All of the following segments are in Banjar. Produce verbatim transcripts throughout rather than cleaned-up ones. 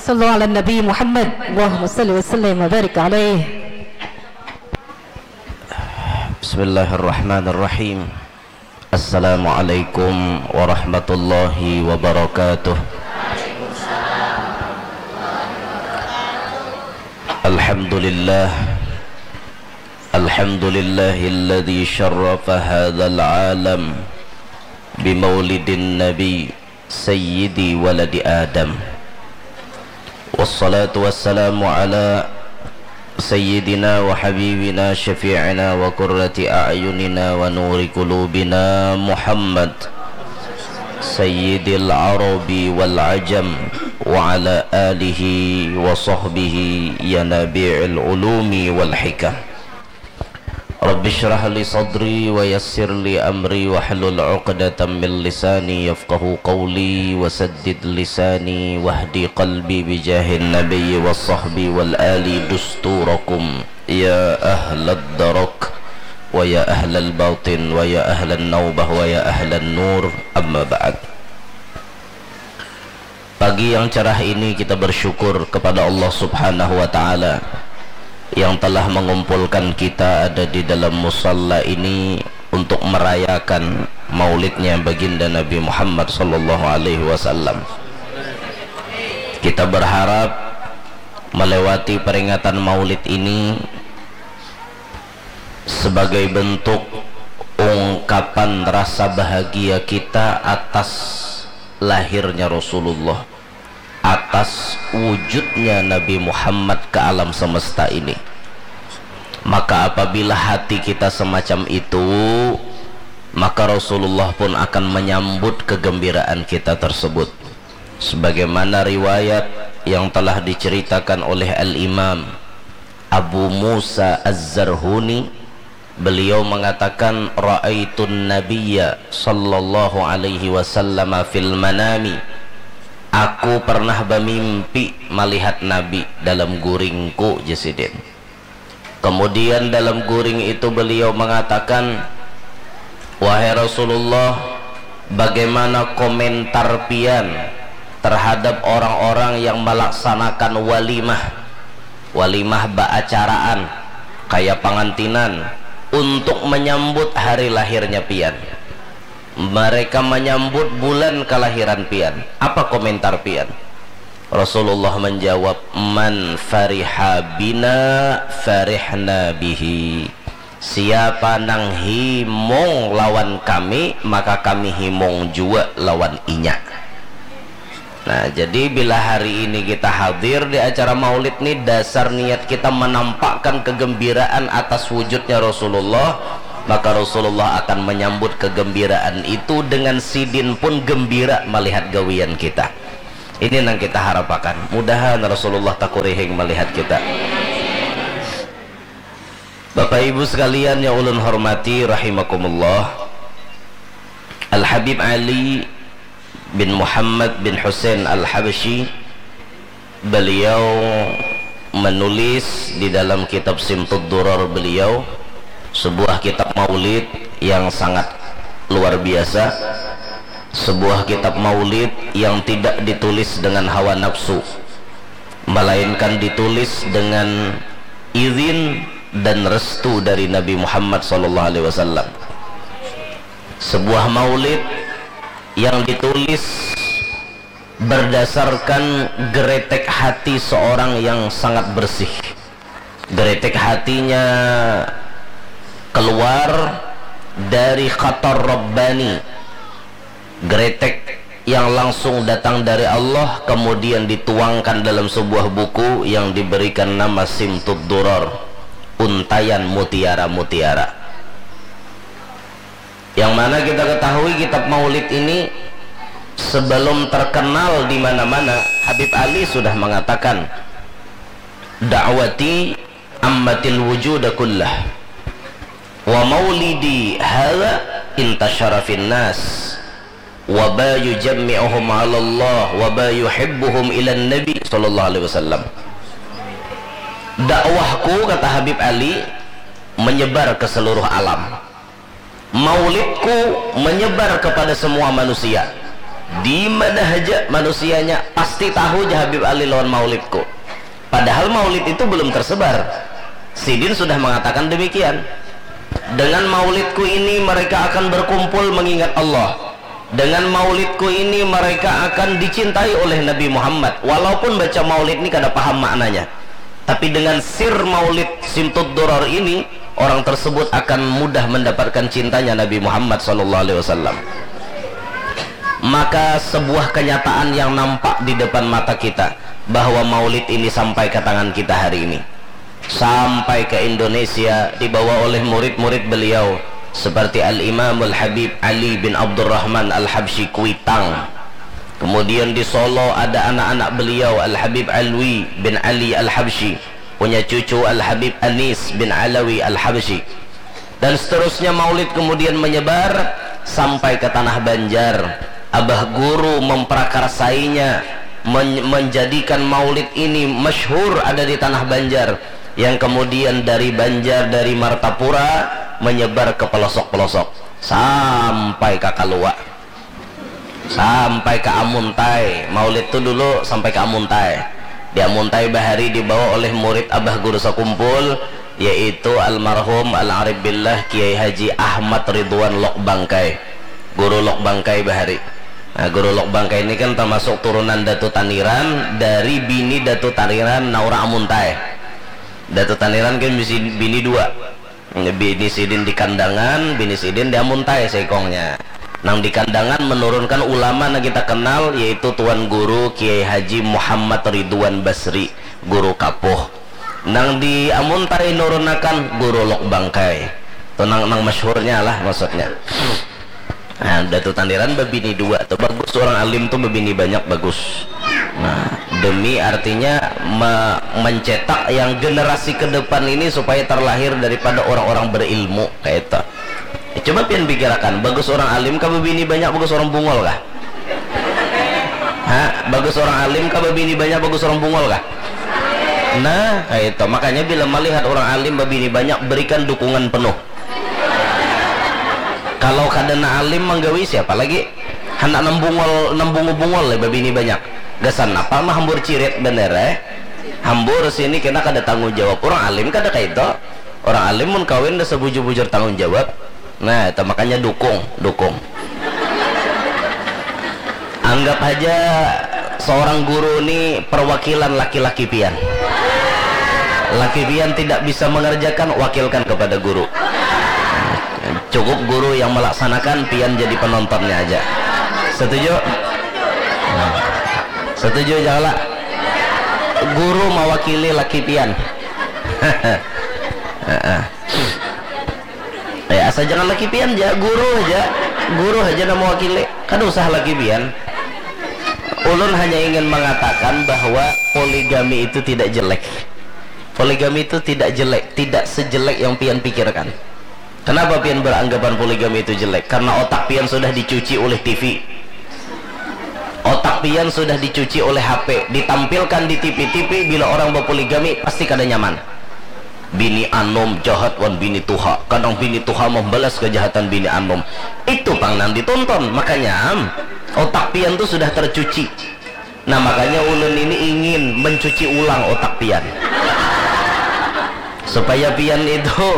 Sallu ala Nabi Muhammad. Allahumma salli wa sallim wa barik alaih. Bismillahirrahmanirrahim. Assalamualaikum warahmatullahi wabarakatuh. Alhamdulillah. Alhamdulillahilladzi syarrafa hadzal alam bimaulidin nabi sayyidi waladi Adam. Wassalatu wassalamu ala sayyidina wa habibina syafi'ina wa qurrati a'yunina wa nuri qulubina Muhammad sayyidil arabi wal ajam wa ala alihi wa sahbihi ya nabi'il ulumi wal hikam. Rabbi shrah li sadri wa yassir li amri wahlul uqdatam min lisani yafqahu qawli wa saddid lisani wahdi qalbi bijahin nabiyyi wa sahbi wal ali dusturakum ya ahlad darak wa ya ahlal batin wa ya ahlan naubah wa ya ahlan nur, amma ba'd. Pagi yang cerah ini kita bersyukur kepada Allah Subhanahu wa Ta'ala yang telah mengumpulkan kita ada di dalam musalla ini untuk merayakan maulidnya baginda Nabi Muhammad sallallahu alaihi wasallam. Kita berharap melewati peringatan maulid ini sebagai bentuk ungkapan rasa bahagia kita atas lahirnya Rasulullah, atas wujudnya Nabi Muhammad ke alam semesta ini. Maka apabila hati kita semacam itu, maka Rasulullah pun akan menyambut kegembiraan kita tersebut. Sebagaimana riwayat yang telah diceritakan oleh Al-Imam Abu Musa Az-Zarhuni, beliau mengatakan, "Ra'aitun Nabiyya sallallahu alaihi wasallam fil manami." Aku pernah bermimpi melihat Nabi dalam guringku, jesidin. Kemudian dalam guring itu beliau mengatakan, "Wahai Rasulullah, bagaimana komentar pian terhadap orang-orang yang melaksanakan walimah, walimah baacaraan, kaya pangantinan, untuk menyambut hari lahirnya pian? Mereka menyambut bulan kelahiran pian. Apa komentar pian?" Rasulullah menjawab, "Man fariha bina farihna bihi." Siapa nang himung lawan kami, maka kami himung jua lawan inya. Nah, jadi bila hari ini kita hadir di acara maulid ni, dasar niat kita menampakkan kegembiraan atas wujudnya Rasulullah, maka Rasulullah akan menyambut kegembiraan itu dengan sidin pun gembira melihat gawian kita. Ini nang kita harapakan. Mudahan Rasulullah takurihing melihat kita. Bapak Ibu sekalian yang ulun hormati rahimakumullah, Al Habib Ali bin Muhammad bin Husain Al Habsyi, beliau menulis di dalam kitab Simtud Durar beliau sebuah kitab maulid yang sangat luar biasa, sebuah kitab maulid yang tidak ditulis dengan hawa nafsu, melainkan ditulis dengan izin dan restu dari Nabi Muhammad sallallahu alaihi wasallam. Sebuah maulid yang ditulis berdasarkan geretek hati seorang yang sangat bersih. Geretek hatinya keluar dari khatar Rabbani. Geretek yang langsung datang dari Allah kemudian dituangkan dalam sebuah buku yang diberikan nama Simtud Durar, Untayan Mutiara-Mutiara. Yang mana kita ketahui kitab maulid ini sebelum terkenal di mana-mana, Habib Ali sudah mengatakan, "Da'wati ammatil wujuda kullah, wa maulidi hadza intasyara fin nas, wa ba yujammi'uhum 'ala Allah, wa ba yuhibbuhum ila Nabi sallallahu alaihi wasallam." Dakwahku, kata Habib Ali, menyebar ke seluruh alam. Maulidku menyebar kepada semua manusia. Di mana haja manusianya pasti tahu ja Habib Ali lawan maulidku. Padahal maulid itu belum tersebar. Sidin sudah mengatakan demikian. Dengan maulidku ini mereka akan berkumpul mengingat Allah. Dengan maulidku ini mereka akan dicintai oleh Nabi Muhammad. Walaupun baca maulid ini kada paham maknanya. Tapi dengan sir maulid Simtud Duror ini, orang tersebut akan mudah mendapatkan cintanya Nabi Muhammad sallallahu alaihi wasallam. Maka sebuah kenyataan yang nampak di depan mata kita, bahwa maulid ini sampai ke tangan kita hari ini. Sampai ke Indonesia, dibawa oleh murid-murid beliau, seperti Al-Imamul Habib Ali bin Abdurrahman Al-Habsyi Kuitang. Kemudian di Solo ada anak-anak beliau, Al-Habib Alwi bin Ali Al-Habsyi, punya cucu Al-Habib Anis bin Alawi Al-Habsyi. Dan seterusnya maulid kemudian menyebar sampai ke tanah Banjar. Abah Guru memprakarsainya, men-, menjadikan maulid ini masyhur ada di tanah Banjar. Yang kemudian dari Banjar, dari Martapura, menyebar ke pelosok-pelosok. Sampai ke Kalua. Sampai ke Amuntai. Maulid tu dulu sampai ke Amuntai. Di Amuntai bahari dibawa oleh murid Abah Guru Sakumpul, yaitu almarhum Al-Arif Billah Kiai Haji Ahmad Ridwan Lok Bangkai. Guru Lok Bangkai bahari. Nah, Guru Lok Bangkai ini kan termasuk turunan Datu Taniran dari bini Datu Taniran, nah, urang Amuntai. Datu Taniran kan bisi bini dua. Bini sidin di Kandangan, bini sidin di Amuntai seikongnya. Nang di Kandangan menurunkan ulama nang kita kenal, yaitu Tuan Guru Kiai Haji Muhammad Ridwan Basri, Guru Kapuh. Nang di Amuntai nurunakan Guru Lok Bangkai. Tu nang, nang masyhurnya lah maksudnya. Nah, Datu Taniran babini dua tu, bagus, urang alim tu babini banyak, bagus. Nah, demi artinya me-, mencetak yang generasi ke depan ini supaya terlahir daripada orang-orang berilmu, kaitu. Eh, coba pian pikirakan, bagus urang alim kah babini banyak, bagus urang bungul kah? Ha, bagus urang alim kah babini banyak, bagus urang bungul kah? Nah, kaitu. Makanya bila malihat urang alim babini banyak, berikan dukungan penuh. Kalau kada nang alim manggawi, siapa lagi? Handak nang bungul, nang bungu-bungul leh babini banyak. Gasan apa mah hambur cirit banar, eh? Hambur sini kena kada tanggung jawab. Urang alim kada kaitu. Urang alim mun kawin dasar bujur-bujur tanggung jawab. Nah, itu makanya dukung, dukung. Anggap haja seorang guru ni perwakilan laki-laki pian. Laki pian tidak bisa mengerjakan, wakilkan kepada guru. Cukup guru yang melaksanakan, pian jadi penontonnya aja. Setuju? Setuju, Jala? Guru mewakili laki pian. Heeh. Ya, asa jangan laki pian ja, guru aja. Guru aja nang mewakili. Kada usah laki pian. Ulun hanya ingin mengatakan bahwa poligami itu tidak jelek. Poligami itu tidak jelek, tidak sejelek yang pian pikirkan. Kenapa pian beranggapan poligami itu jelek? Karena otak pian sudah dicuci oleh T V. Otak pian sudah dicuci oleh H P. Ditampilkan di T V-T V, bila orang berpoligami, pasti kada nyaman. Bini anum jahat wan bini tuha. Kadang bini tuha membalas kejahatan bini anum. Itu pang nang ditonton. Makanya, otak pian tu sudah tercuci. Nah, makanya ulun ini ingin mencuci ulang otak pian. Supaya pian itu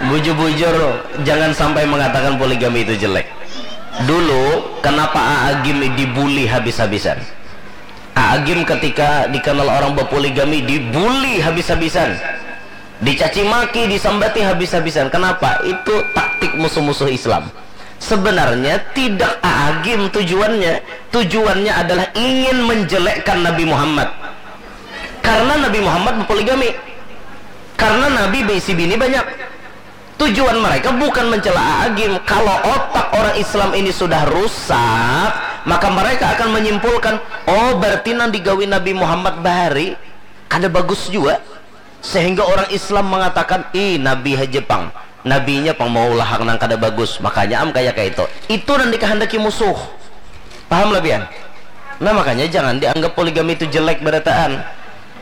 bujur-bujur jangan sampai mengatakan poligami itu jelek. Dulu, kenapa Aa Gim dibully habis-habisan? Aa Gim ketika dikenal orang berpoligami dibully habis-habisan. Dicaci maki, disambati habis-habisan. Kenapa? Itu taktik musuh-musuh Islam. Sebenarnya tidak Aa Gim tujuannya. Tujuannya adalah ingin menjelekkan Nabi Muhammad. Karena Nabi Muhammad berpoligami. Karena Nabi berisi bini banyak. Tujuan mereka bukan mencela Aa Gim. Kalau otak orang Islam ini sudah rusak, maka mereka akan menyimpulkan, "Oh, berarti nang digawi Nabi Muhammad bahari kada bagus jua." Sehingga orang Islam mengatakan, "Ih, Nabi haja pang. Nabinya pang maulah hal nang kada bagus. Makanya am kaya kaitu." Itu nang dikahandaki musuh. Paham lah pian? Nah, makanya jangan dianggap poligami itu jelek berataan.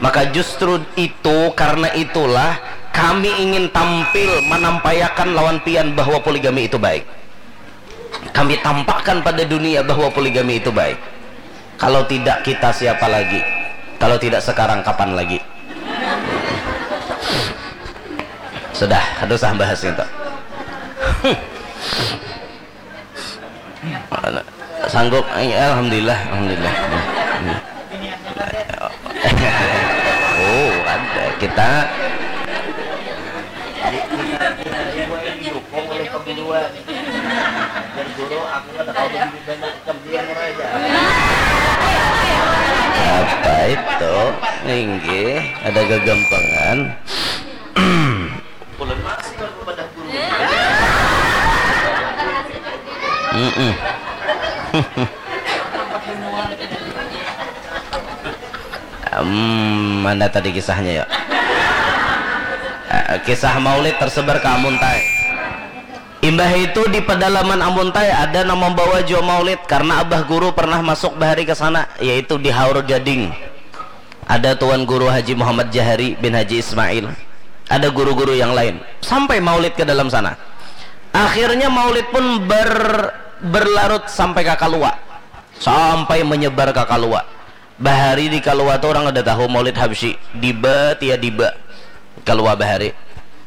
Maka justru itu, karena itulah kami ingin tampil manampaiakan lawan pian bahwa poligami itu baik. Kami tampakkan pada dunia bahwa poligami itu baik. Kalau tidak kita, siapa lagi? Kalau tidak sekarang, kapan lagi? Sudah, kada usah bahas itu. Sanggup? Alhamdulillah, alhamdulillah. Oh, ada kita. Apa itu? Inggih, ada gagampangan. Hmm, mana tadi kisahnya ya? Eh, kisah maulid tersebar ke Amuntai. Imbah itu di pedalaman Amuntai ada nang membawa jua maulid karena abah guru pernah masuk bahari ke sana, yaitu di Haur Gading. Ada Tuan Guru Haji Muhammad Jahari bin Haji Ismail. Ada guru-guru yang lain. Sampai maulid ke dalam sana. Akhirnya maulid pun ber, berlarut sampai ke Kalua. Sampai menyebar ke Kalua. Bahari di Kalua tu orang kada tahu maulid Habsyi. Diba, tia diba. Kalua bahari.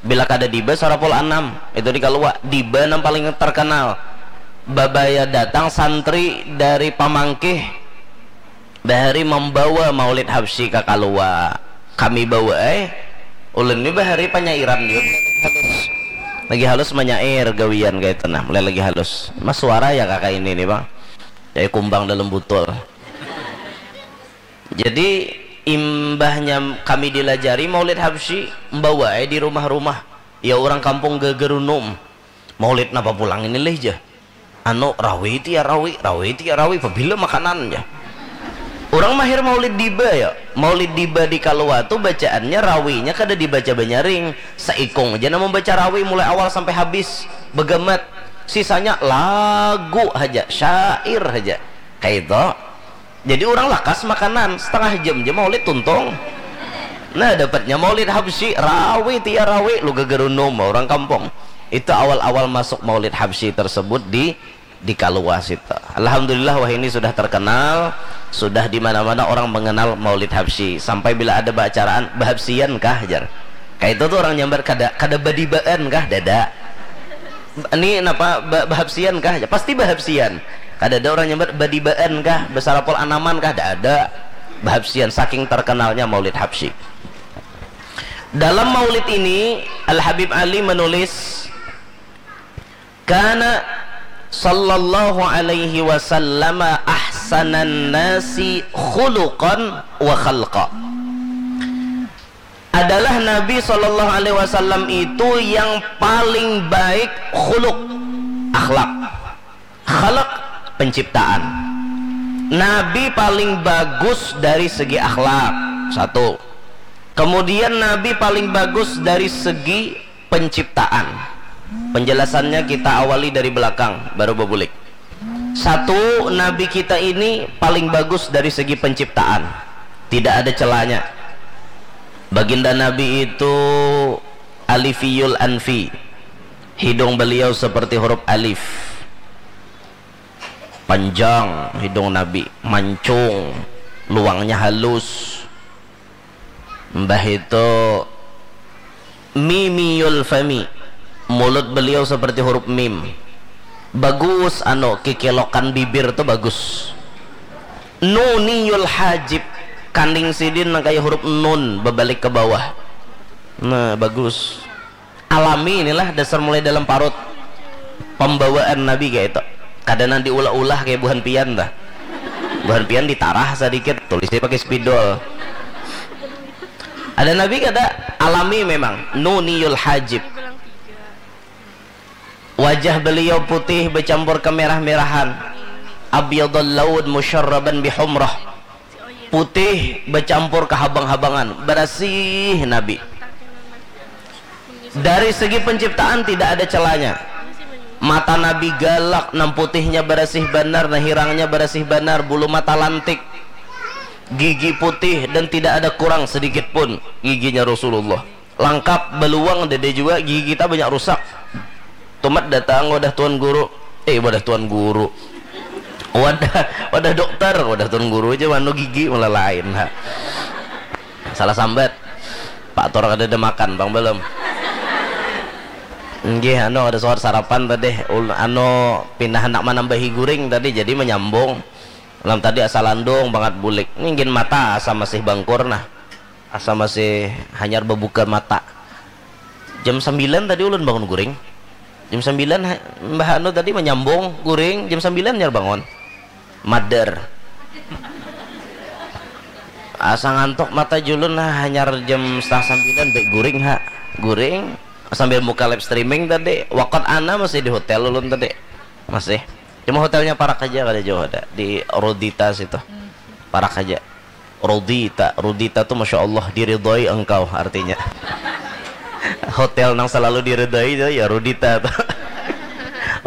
Bila kada diba, sarapul anam. Itu di Kalua. Diba nang paling terkenal. Babaya datang santri dari Pamangkih. Bahari membawa maulid Habsyi ka Kalua. Kami bawa ai. Ulun ni bahari panyairan jua. Lagi halus. Lagi halus manyair gawian kaitu nah. Mulai lagi halus. Mas suara ya kakak ini nih bang. Jadi kumbang dalam butul. Jadi imbahnya kami dilajari maulid Habsyi, membawa ai di rumah-rumah. Ya orang kampung gegerunum. Maulid napa pulang ini lih jar. Anu, rawi tia rawi, rawi tia rawi, pabila makanan jar. Urang mahir maulid diba ya. Maulid diba di Kalua tu bacaannya rawinya kada dibaca banyaring. Saikung ja nang mambaca rawi mulai awal sampai habis. Bagamat. Sisanya lagu haja, syair haja. Kaitu. Jadi urang lakas makanan, setengah jam ja maulid tuntung. Nah, dapatnya maulid Habsyi, rawi tia rawi, lu gegerunum urang kampung. Itu awal-awal masuk maulid Habsyi tersebut di, di Kalua situ. Alhamdulillah wahini sudah terkenal, sudah di mana-mana orang mengenal maulid Habsyi. Sampai bila ada baacaraan, "Bahabsyian kah?" jar. Kaitu tu orang nyambat, "Kada, kada badibaan kah?" Dada. Ni napa ba-, bahabsyian kah? Pasti bahabsyian. Kadada orang nyambat badibaan kah, basarapul anaman kah? Dada. Bahabsyian, saking terkenalnya Maulid Habsyi. Dalam Maulid ini, Al Habib Ali menulis, "Kana sallallahu alaihi wasallam ahsanan nasi khuluqan wa khalqa." Adalah Nabi Shallallahu Alaihi Wasallam itu yang paling baik khuluk, akhlak, khalak, penciptaan. Nabi paling bagus dari segi akhlak, satu. Kemudian Nabi paling bagus dari segi penciptaan. Penjelasannya kita awali dari belakang, baru bebulik. Satu, Nabi kita ini paling bagus dari segi penciptaan. Tidak ada celanya. Baginda Nabi itu alifiyul anfi. Hidung beliau seperti huruf alif. Panjang hidung Nabi, mancung, luangnya halus. Mbah itu mimiyul fami, mulut beliau seperti huruf mim. Bagus, anu, kikelokan bibir tu bagus. Nuniyul hajib, kaning sidin nang kaya huruf nun, babalik ke bawah. Nah, bagus. Alami inilah dasar mulai dalam parut pembawaan Nabi kayak itu. Kada nang diulah-ulah kayak buhan pian dah. Buhan pian ditarah sedikit, tulisnya pakai spidol. Ada Nabi kada, alami memang, nuniyul hajib. Wajah beliau putih bercampur kemerah-merahan. Abyadul laun musyarraban bihumrah. Putih bercampur kehabang-habangan, berasih Nabi. Dari segi penciptaan tidak ada celanya. Mata Nabi galak, nang putihnya berasih banar, nang hirangnya berasih banar, bulu mata lantik. Gigi putih dan tidak ada kurang sedikit pun giginya Rasulullah. Langkap, beluang, dede jua, gigi kita banyak rusak. Tumat datang wadah Tuan Guru. eh, wadah tuan guru. Wadah, wadah dokter, wadah tuan guru aja manu gigi malah lain ha. Salah sambat. Pak Tor kada ada makan bang belum. Nggih, anu kada suat sarapan tadi. Ul- anu pindah hendak menambahi guring tadi jadi menyambung. Lam tadi asa landung bangat bulik. Ninggin mata asa masih bangkur nah. Asa masih hanyar bebuka mata. Jam sembilan tadi ulun bangun guring. Jam sembilan ha- Mbah Anu tadi menyambung guring, jam sembilan nyar bangun. Mader. Asa ngantuk mata julun ha, hanyar jam setengah sembilan baik guring ha. Guring sambil muka live streaming tadi. Wakot ana masih di hotel ulun tadi. Masih. Cuma hotelnya parak aja kada jauh ada di Rodita situ. Parak aja. Rodita, Rodita tuh masya Allah diridhoi engkau artinya. Hotel nang selalu diridhoi itu ya Rodita tuh.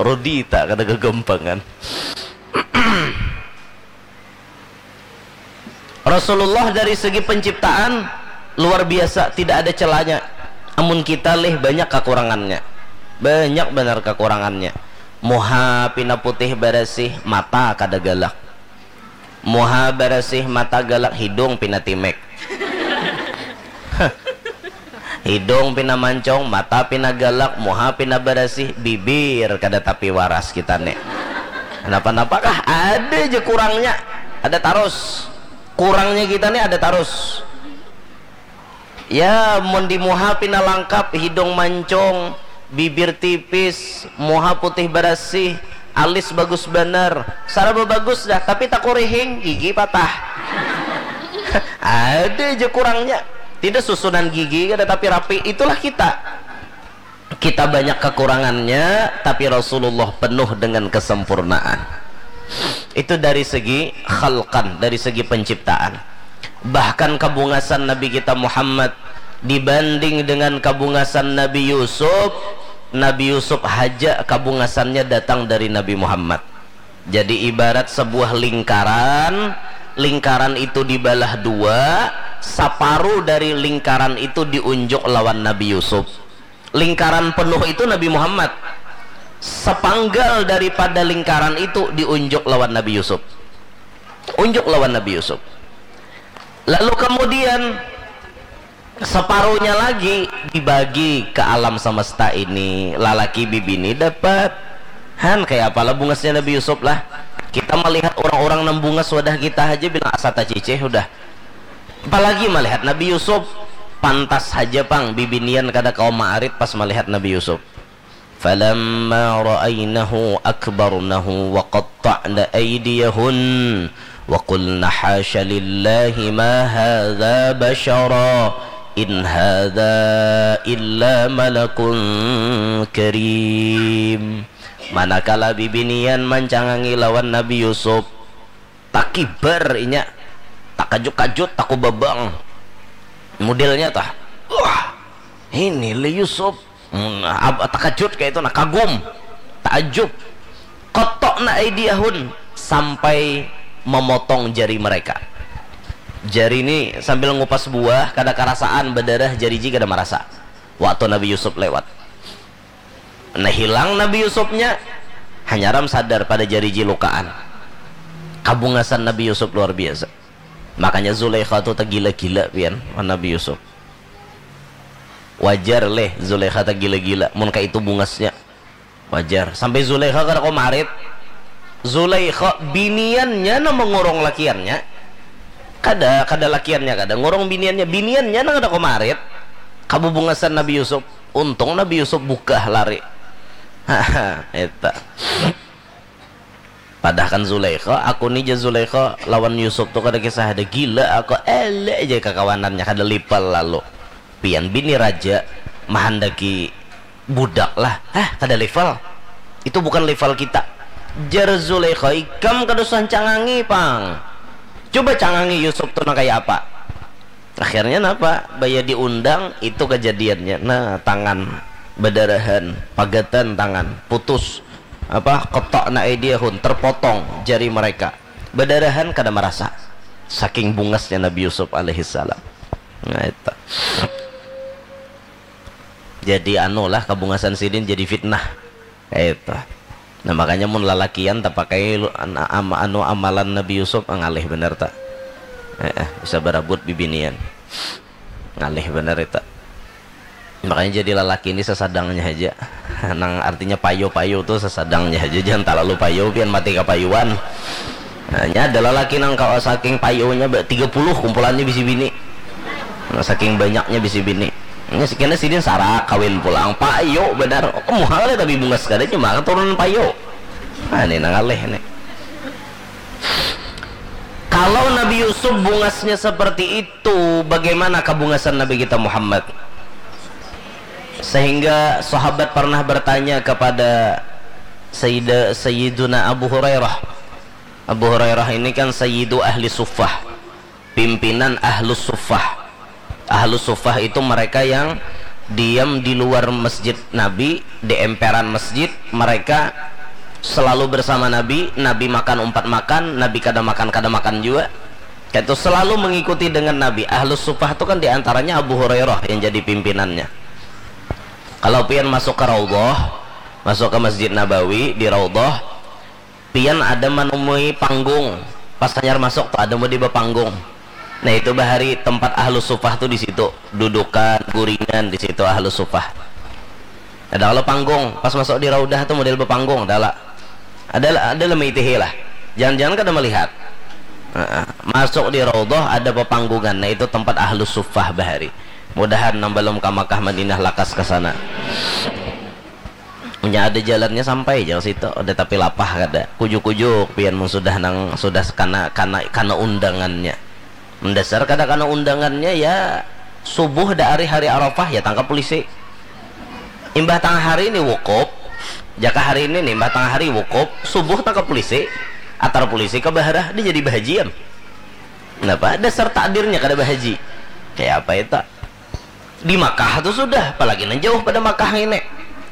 Rodita kada kegampangan. Rasulullah dari segi penciptaan luar biasa, tidak ada celanya. Amun kita lih banyak kekurangannya. Banyak benar kekurangannya. Muha pina putih barasih, mata kada galak. Muha barasih, mata galak, hidung pina timek. Hidung pina mancong, mata pina galak, muha pina barasih, bibir kada tapi waras kita nih. Kenapa-napakah? Ada aja kurangnya. Ada tarus. Kurangnya kita nih ada tarus. Ya, mun di muha pina langkap, hidung mancung, bibir tipis, muha putih barasih, alis bagus banar, saraba bagus dah, tapi takurihing, gigi patah. Ada aja kurangnya. Tidak susunan gigi kada tapi rapi, itulah kita. Kita banyak kekurangannya, tapi Rasulullah penuh dengan kesempurnaan. Itu dari segi khalqan, dari segi penciptaan. Bahkan kabungasan Nabi kita Muhammad dibanding dengan kabungasan Nabi Yusuf, Nabi Yusuf haja kabungasannya datang dari Nabi Muhammad. Jadi ibarat sebuah lingkaran, lingkaran itu dibalah dua, saparu dari lingkaran itu diunjuk lawan Nabi Yusuf. Lingkaran penuh itu Nabi Muhammad. Sepanggal daripada lingkaran itu diunjuk lawan Nabi Yusuf. Unjuk lawan Nabi Yusuf. Lalu kemudian separuhnya lagi dibagi ke alam semesta ini. Lalaki bibini dapat. Han, kayak apalah bungasnya Nabi Yusuf lah. Kita melihat orang-orang nang bungas wadah kita aja bilang asa tacicih udah. Apalagi melihat Nabi Yusuf, pantas saja pang bibinian kada kawa maarit pas melihat Nabi Yusuf. Falamma ra'ainahu akbarnahu wa qatta'na aydiyahun wa qulna hasya lillahi ma hadza basyara in hadza illa malakun karim. Manakala bibinian mancangangi lawan Nabi Yusuf, takibar inya, takajut-kajut, takubabang. Modelnya tah, wah, ini le Yusuf. Hmm, ab- takajut kayak itu nah, kagum, taajub. Qatta'na aydiyahun, sampai memotong jari mereka. Jari ini sambil ngupas buah kada karasaan, berdarah, jari ji kada marasa. Waktu Nabi Yusuf lewat. Nah, hilang Nabi Yusufnya, hanyaram sadar pada jari ji lukaan. Kabungasan Nabi Yusuf luar biasa. Makanya Zulaikha tu tegila-gila pian wan Nabi Yusuf. Wajar leh Zulaikha tegila-gila mun kaitu bungasnya. Wajar. Sampai Zulaikha kada kawa marit. Zulaikha biniannya nang mengurung lakiannya. Kada, kada lakiannya kada ngurung biniannya. Biniannya nang kada kawa marit. Kabubungasan Nabi Yusuf. Untung Nabi Yusuf bukah lari. Haha, eta. Padahkan Zulaikha, aku ni ja Zulaikha lawan Yusuf tu kada kisah ada gila, aku elek aja kakawanannya, kada level lalu. Pian bini raja mahandaki budak lah, hah, kada level. Itu bukan level kita. Jar Zulaikha, ikam kada usah cangangi pang. Coba cangangi Yusuf tu nang kaya apa. Akhirnya napa? Baya diundang, itu kejadiannya. Nah, tangan bedarahan, pagatan tangan, putus. Apa? Qatta'na aydiyahun, terpotong jari mereka. Bedarahan kada merasa. Saking bungasnya Nabi Yusuf alaihissalam. Nah, itu. Jadi anulah kabungasan sidin jadi fitnah. Itu. Nah, makanya mun lalakian tapakai lu- an- am- anu amalan Nabi Yusuf, ah, ngalih banar ta. Eh, eh, bisa barabut bibinian. Ngalih banar itu. Makanya jadi lalaki ini sesadangnya aja. Nang artinya payu-payu tuh sesadangnya aja, jangan terlalu payu pian mati kapayuan. Nah, nya ada lalaki nang kawa saking payunya ba tiga puluh kumpulannya bisi bini. Nah, saking banyaknya bisi bini. Nya sekena sidin sarak kawin pulang, payu benar. Muhal ya tapi bungas kada cuma keturunan payu. Nah, ini nang ngalih nih. Kalau Nabi Yusuf bungasnya seperti itu, bagaimana kebungasan Nabi kita Muhammad? Sehingga sahabat pernah bertanya kepada Sayyida, Sayyiduna Abu Hurairah. Abu Hurairah ini kan Sayyidu Ahli Suffah, pimpinan Ahlus Suffah. Ahlus Suffah itu mereka yang diam di luar masjid Nabi, di emperan masjid, mereka selalu bersama Nabi, Nabi makan umpat makan, Nabi kada makan, kada makan juga. Itu selalu mengikuti dengan Nabi. Ahlus Suffah itu kan diantaranya Abu Hurairah yang jadi pimpinannya. Kalau pian masuk ke Raudhah, masuk ke Masjid Nabawi di Raudhah, pian ada menemui panggung. Pas hanyar masuk tuh ada mau di bapanggung. Nah, itu bahari tempat Ahlus Suffah tuh di situ. Dudukan, guringan di situ Ahlus Suffah. Ada kalau panggung, pas masuk di Raudhah tuh model bapanggung, ada lah. Ada lah, ada lah meitihi lah. Jangan-jangan kada melihat. Heeh. Masuk di Raudhah ada pepanggungan. Nah, itu tempat Ahlus Suffah bahari. Mudahan nang belum ka Makkah Madinah lakas ke sana. Nya ada jalannya sampai jauh situ, ada tapi lapah kada. Kujuk-kujuk pian mun sudah nang sudah kana kana kana undangannya. Mendasar kada kana undangannya ya subuh da hari hari Arafah ya tangkap polisi. Imbah tangah hari ini wukuf, jaka hari ini nih imbah tangah hari wukuf, subuh tangkap polisi, atar polisi ke baharah dia jadi bahajian. Kenapa? Dasar takdirnya kada bahaji. Kayak apa itu? Di Makkah tu sudah, apalagi nang jauh pada Makkah ini.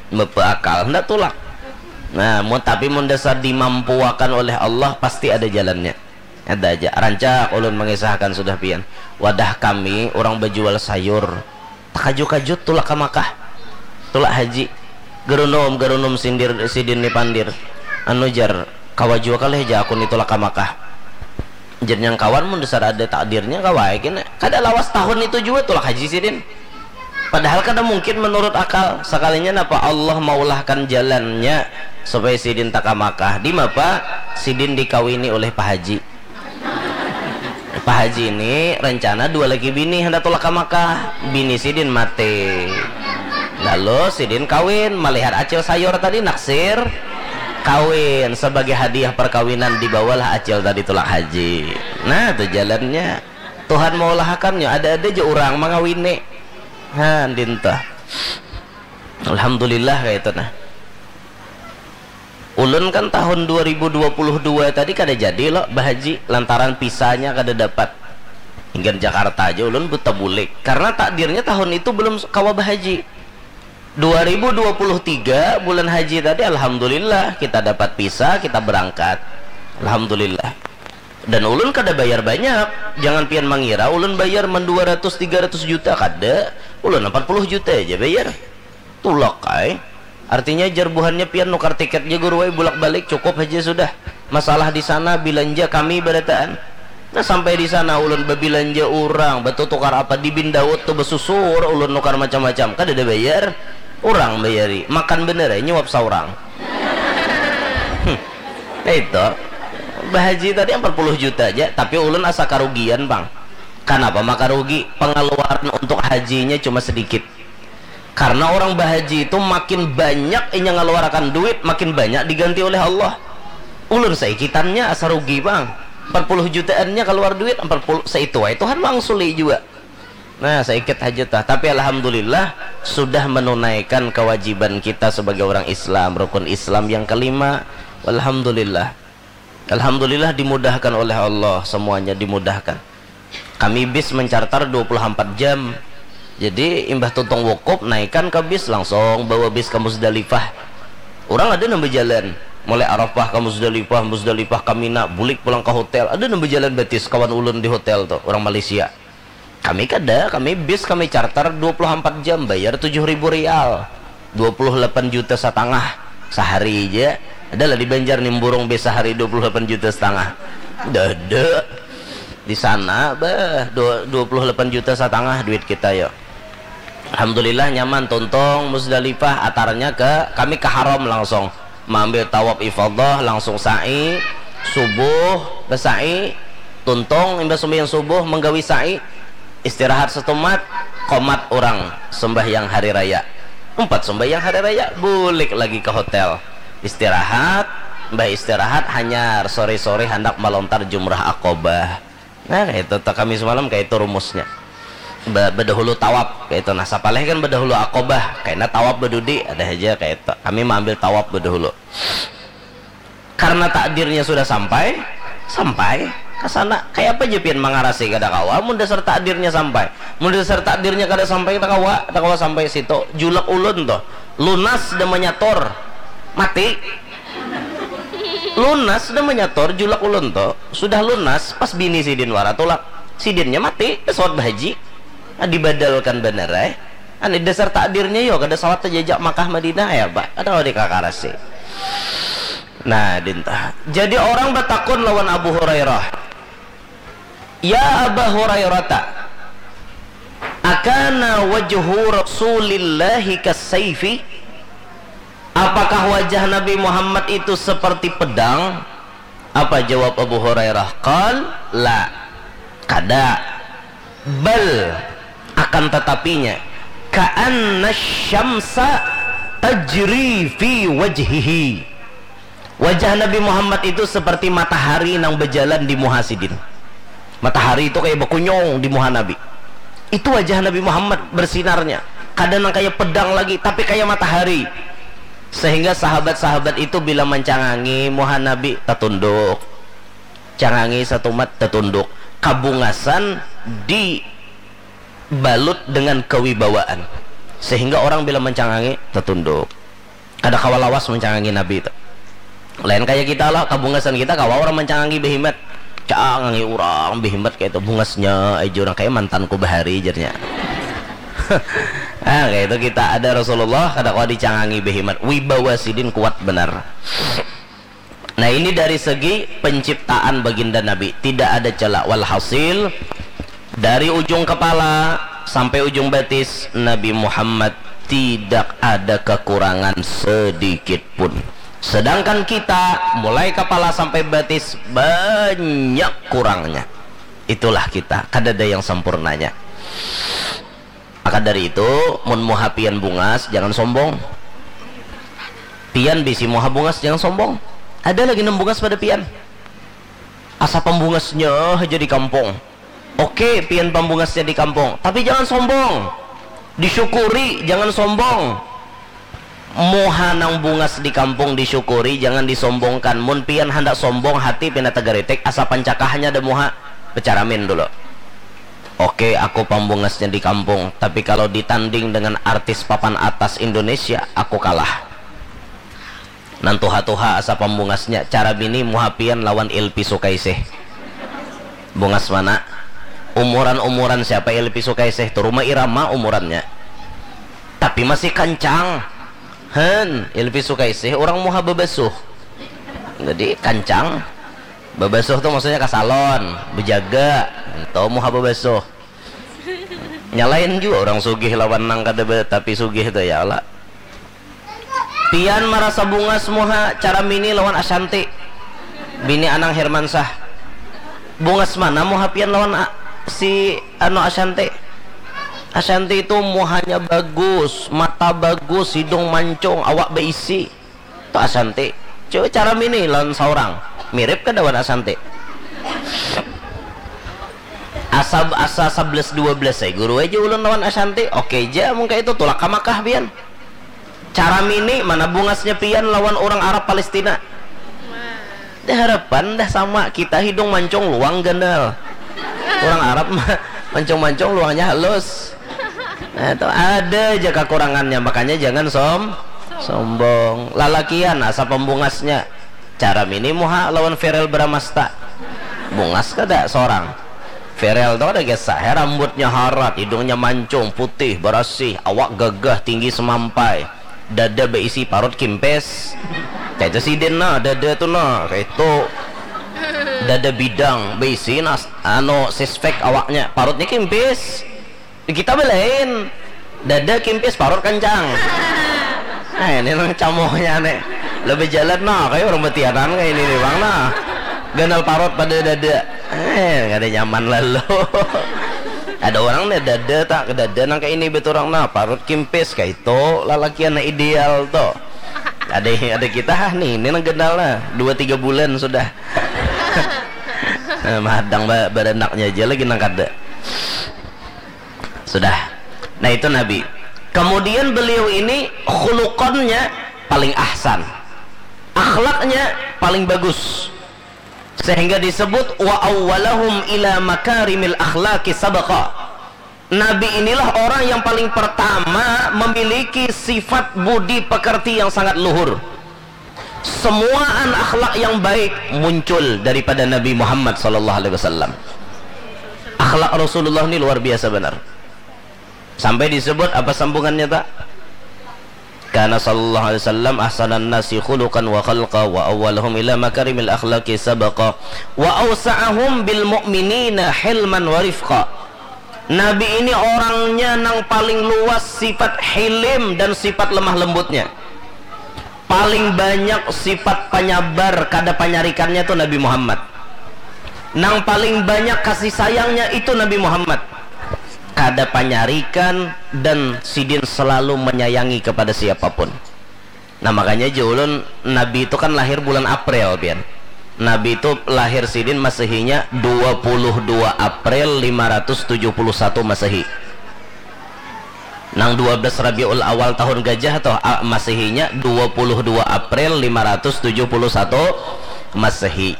Bepeakal, hendak tulak. Nah, mun, tapi mun dasar dimampuakan oleh Allah, pasti ada jalannya. Ada aja. Rancak ulun mengisahkan sudah pian. Wadah kami, orang berjual sayur. Takaju-kaju tulak ke Makkah. Tulak haji. Gerunum, gerunum sindir, sidin ni pandir. Anu jar, kawa jua kalih ja aku ni tulak ke Makkah. Jar nyang kawan mun dasar ada takdirnya kawa ai kena. Kada lawas tahun itu jua tulak haji sidin. Padahal kada mungkin menurut akal. Sakalinya napa Allah maulahkan jalannya supaya sidin taka Makkah. Di mapa sidin dikawini oleh Pak Haji. Pak Haji ini rencana dua lagi bini hendak tulak ke Makkah. Bini sidin mati. Lalu sidin kawin, melihat acil sayur tadi naksir kawin sebagai hadiah perkawinan dibawalah acil tadi tulak haji. Nah, tu jalannya. Tuhan maulahakannya, ada-ada aja orang mangawini. Ha, dinta. Alhamdulillah kayak itu nah. Ulun kan tahun dua ribu dua puluh dua tadi kada jadi lo bahaji lantaran pisanya kada dapat. Hingga Jakarta aja ulun buta bulik karena takdirnya tahun itu belum kawa bahaji. Dua ribu dua puluh tiga bulan haji tadi alhamdulillah kita dapat visa, kita berangkat. Alhamdulillah. Dan ulun kada bayar banyak. Jangan pian mangira ulun bayar men dua ratus tiga ratus juta, kada. Ulun empat puluh juta aja bayar. Tulak ai. Artinya jar buhannya pian nukar tiket ja guru ai bulak balik cukup haja sudah. Masalah di sana bilanja kami barataan. Nah, sampai di sana ulun babilanja urang, batutukar apa di Bin Daud tu basusur ulun nukar macam-macam. Kada ada bayar. Urang bayari. Makan bener ai nyuap saurang. Hmm. Nah, itu. Bahaji tadi empat puluh juta aja, tapi ulun asa karugian, Bang. Kanapa maka rugi? Pengeluaran untuk hajinya cuma sedikit. Karena orang bahaji itu makin banyak inya ngeluarkan duit, makin banyak diganti oleh Allah. Ulun saikitannya asa rugi, Bang. Empat puluh jutaannya keluar duit, empat puluh seitu wae Tuhan mangsuli juga. Nah, saikit haja tah. Tapi alhamdulillah sudah menunaikan kewajiban kita sebagai orang Islam, rukun Islam yang kelima. Alhamdulillah. Alhamdulillah dimudahkan oleh Allah, semuanya dimudahkan. Kami bis mencartar dua puluh empat jam. Jadi imbah tuntung wukuf naikan ke bis langsung bawa bis ke Musdalifah. Orang ada nang berjalan mulai Arafah ke Musdalifah, Musdalifah ke Mina, bulik pulang ke hotel. Ada nang berjalan batis kawan ulun di hotel tuh, orang Malaysia. Kami kada, kami bis kami charter dua puluh empat jam, bayar tujuh ribu rial, dua puluh delapan juta setengah sehari aja. Adalah di Banjar nimburung bisa hari dua puluh delapan juta setengah. Dada. Di sana bah dua- 28 juta setengah duit kita ya. Alhamdulillah nyaman, tuntung Muzdalifah, atarnya ke kami ke Haram langsung. Maambil tawaf ifadah, langsung sa'i, subuh, besa'i, tuntung imbah sembahyang subuh menggawi sa'i, istirahat setumat, komat orang sembahyang hari raya. Empat sembahyang hari raya, bulik lagi ke hotel. Istirahat, mbah istirahat, hanyar sore-sore handak malontar jumrah Aqabah. Nah, kayak itu kami semalam kayak itu rumusnya. Be- bedahulu tawaf kayak itu. Nah, sapaleh kan bedahulu Aqabah, kayaknya tawaf bedudi ada aja kayak itu. Kami mengambil tawaf bedahulu. Karena takdirnya sudah sampai, sampai ke sana. Kayak apa aja pian mengarasi kada kawa, mun dasar takdirnya sampai. Mun dasar takdirnya kada sampai, kada kawa, kada kawa sampai situ. Julak ulun tuh, lunas dan menyatur, mati. Lunas dah menyator julak ulun tu. Sudah lunas, pas bini sidin wara tulak, sidinnya mati, pesawat bahaji. Nah, dibadalkan banar ai. Ani dasar takdirnya yo kada sawat tajajak Makkah Madinah ya ba, kada kawa dikakarasi. Nah, dinta jadi orang batakun lawan Abu Hurairah, "Ya Aba Hurairata, akana wajhu Rasulillahi kasaifi?" Apakah wajah Nabi Muhammad itu seperti pedang? Apa jawab Abu Hurairah? Qal, la. Kada. Bal, akan tetapinya, ka'anna syamsa tajri fi wajhihi. Wajah Nabi Muhammad itu seperti matahari nang berjalan di muha sidin. Matahari itu kayak berkunyung di muha Nabi. Itu wajah Nabi Muhammad bersinarnya. Kada nang kayak pedang lagi, tapi kayak matahari. Sehingga sahabat-sahabat itu bila mencangangi muha Nabi, tatunduk. Cangangi satumat, tatunduk. Kabungasan dibalut dengan kewibawaan. Sehingga orang bila mencangangi, tatunduk. Kada kawa lawas mencangangi Nabi tu. Lain kaya kita lah, kabungasan kita kawa orang mancangangi behimat. Cangangi urang behimat kaya itu, bungasnya aja urang kaya mantanku bahari jarnya. Ah, kaya itu kita ada Rasulullah kada kawa dicangangi behimat, wibawa sidin kuat banar. Nah, ini dari segi penciptaan baginda Nabi, tidak ada celah. Walhasil, dari ujung kepala sampai ujung batis, Nabi Muhammad tidak ada kekurangan sedikit pun. Sedangkan kita, mulai kepala sampai batis, banyak kurangnya. Itulah kita, kada ada yang sempurnanya. Maka dari itu, mun muha pian bungas, jangan sombong. Pian bisi muha bungas, jangan sombong. Ada lagi nang bungas pada pian. Asa pambungasnya haja di kampung. Oke, pian pambungasnya di kampung, tapi jangan sombong. Disyukuri, jangan sombong. Muha nang bungas di kampung disyukuri, jangan disombongkan. Mun pian handak sombong, hati pina tagaritik, asa pancakahnya ada muha. Becaramin dulu. Oke, aku pambungasnya di kampung, tapi kalau ditanding dengan artis papan atas Indonesia, aku kalah. Nang tuha-tuha asa pambungasnya, cara bini muha pian lawan Ilpi Sukaisih. Bungas mana? Umuran-umuran siapa Ilpi Sukaisih tu? Rhoma Irama umurannya. Tapi masih kancang. Hen, Ilpi Sukaisih orang muha babasuh. Jadi kancang. Babasuh tu maksudnya ka salon, bejaga. Itu muha babasuh. Nya lain jua urang sugih lawan nang kada ba-, tapi sugih tu, ya Allah. Pian marasa bungas muha, cara mini lawan Ashanti, bini Anang Hermansyah. Bungas mana muha pian lawan a-, si anu Ashanti? Ashanti itu muhanya bagus, mata bagus, hidung mancung, awak beisi. Tu Ashanti. Coba cara mini lawan saurang. Mirip kada wan Ashanti? Asa asa sebelas dua belas ai guru aja ulun lawan Ashanti. Oke ja mun kaya itu, tulak ka Makkah pian. Cara mini mana bungasnya pian lawan urang Arab Palestina? Dah harapan dah sama, kita hidung mancung luang ganal. Urang Arab mah mancung-mancung luangnya halus. Nah, itu ada aja kekurangannya, makanya jangan som sombong. Lalakian asa pembungasnya. Cara mini muha lawan Ferel Bramasta. Bungas kada seorang? Ferel tu kada kisah, ya, rambutnya harat, hidungnya mancung, putih, barasih, awak gagah, tinggi semampai, dada beisi, parut kimpes. Kayak itu sidin nah, dada tuh nah, kayak itu. Dada bidang, bisi nas, anu, sispek awaknya, parutnya kimpis. Kita belain. Dada kimpis, parut kencang. Nah, ini nang camohnya nih. Lebih jalan nah, kayak orang betianan kayak ini nih, Bang, nah. Ganal parut pada dada. Eh, kada nyaman lalu. Ada orang nih dada tak, dada nang kayak ini betul orang nah, parut kimpis kayak itu, lalakian nah ideal tuh. Ada, ada kita ah nih, ini nang ganal lah, dua tiga bulan sudah. Eh, madang ba-, baranaknya aja lagi nang kada. Sudah. Nah, itu Nabi. Kemudian beliau ini khuluqannya paling ahsan. Akhlaknya paling bagus. Sehingga disebut wa awwalahum ila makarimil akhlaqi sabaqa. Nabi inilah orang yang paling pertama memiliki sifat budi pekerti yang sangat luhur. Semuaan akhlak yang baik muncul daripada Nabi Muhammad sallallahu alaihi wasallam. Akhlak Rasulullah ini luar biasa benar. Sampai disebut apa sambungannya tak? Kana sallallahu alaihi wasallam ahsanan nasi khuluqan wa khalqa wa awwalahum ila makarimil akhlaqi sabaqa wa awsa'ahum bil mu'minina hilman wa rifqa. Nabi ini orangnya nang paling luas sifat hilim dan sifat lemah lembutnya. Paling banyak sifat penyabar kada panyarikannya tuh Nabi Muhammad. Nang paling banyak kasih sayangnya itu Nabi Muhammad. Kada panyarikan dan sidin selalu menyayangi kepada siapapun. Nah, makanya aja ulun, Nabi itu kan lahir bulan April, pian. Nabi itu lahir sidin Masehinya dua puluh dua April lima ratus tujuh puluh satu Masehi. Nang dua belas Rabiul Awal tahun gajah toh, a-, Masehinya dua puluh dua April lima ratus tujuh puluh satu Masehi.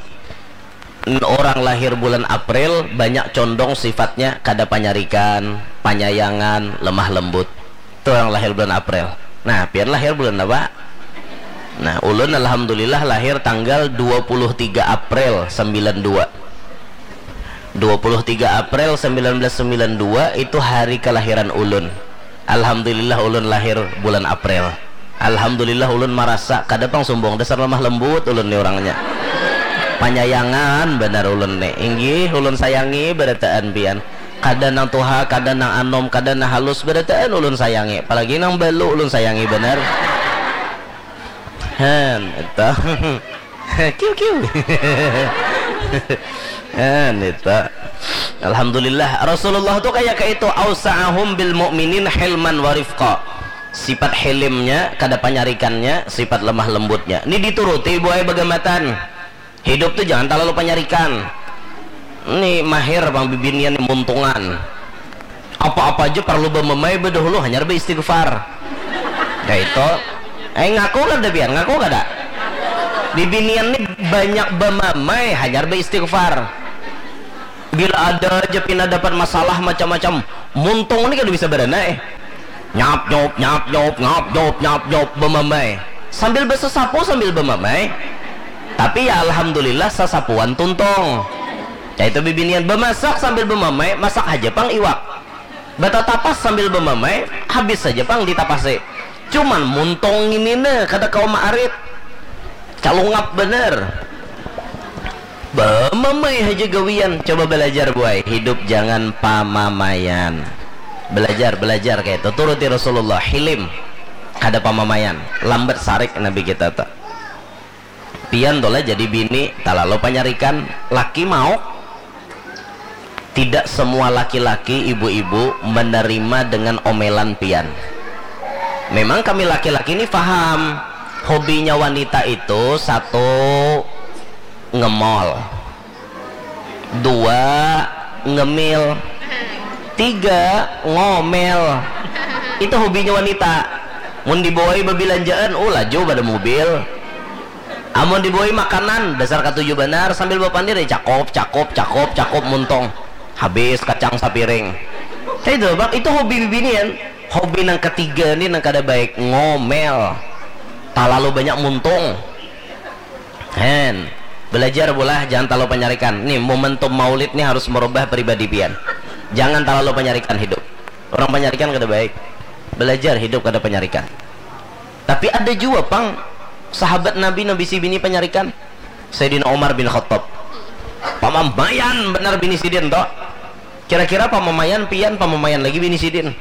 N-, orang lahir bulan April banyak condong sifatnya kada panyarikan, panyayangan, lemah lembut. Itu orang lahir bulan April. Nah, pian lahir bulan apa? Nah, ulun alhamdulillah lahir tanggal dua puluh tiga April sembilan dua. Dua puluh tiga April sembilan belas sembilan dua itu hari kelahiran ulun. Alhamdulillah ulun lahir bulan April. Alhamdulillah ulun marasa kada pang sumbung, dasar lemah lembut ulun ni orangnya. Panyayangan banar ulun ni. Inggih, ulun sayangi barataan pian. Kada nang tuha, kada nang anom, kada nang halus, barataan ulun sayangi. Apalagi nang balu ulun sayangi banar. Han, itu. Kiu, kiu. Han, itu. Alhamdulillah, Rasulullah tu kaya kaitu, ausa'ahum bil mu'minin hilman wa rifqa. Sifat hilimnya, kada panyarikannya, sifat lemah lembutnya. Ni dituruti buai bagamatan. Hidup tu jangan talalu panyarikan. Ni mahir pang bibinian ni muntungan. Apa-apa aja parlu bamamai badahulu hanyar baistighfar. Kaitu. Eh, ngaku kada pian? Ngaku kada? Bibinian ni banyak bamamai hanyar baistighfar. Bila ada aja pina dapat masalah macam-macam, muntung ni kada bisa barana eh. Nyap nyop nyap nyop nyap nyop nyap nyop bamamai. Sambil basasapu sambil bamamai. Tapi ya alhamdulillah sasapuan tuntung. Kaitu bibinian bamasak sambil bamamai, masak haja pang iwak. Batatapas sambil bamamai, habis saja pang ditapasi. Cuman muntung ngini ne kada kawa maarit. Calungap banar. Bamamai haja gawian. Coba balajar buai, hidup jangan pamamaian. Balajar, balajar kaitu. Turuti Rasulullah, hilim. Kada pamamaian. Lambat sarik Nabi kita tu. Pian tu lah jadi bini, talalu panyarikan, laki mauk. Tidak semua laki-laki, ibu-ibu, menerima dengan omelan pian. Memang kami laki-laki ni faham, hobinya wanita itu satu ngemol, dua ngemil, tiga ngomel. Itu hobinya wanita. Mun dibawai babilanjaan, oh laju pada mobil. Amun dibawai makanan, dasar katuju banar sambil bapandir ya cakop, cakop, cakop, cakop muntung. Habis kacang sapiring. Nah, itu, Bang, itu hobi bibinian. Hobi nang ketiga ni nang kada baik, ngomel. Talalu banyak muntung. Hen, belajar bulah, jangan talalu panyarikan. Nih, momentum maulid nih harus merubah pribadi pian. Jangan talalu panyarikan hidup. Orang panyarikan kada baik. Belajar hidup kada panyarikan. Tapi ada jua pang Sahabat Nabi nang bisi bini panyarikan, Sayyidina Umar bin Khattab. Pamamaian banar bini sidin to. Kira-kira pamamaian pian, pamamaian lagi bini sidin.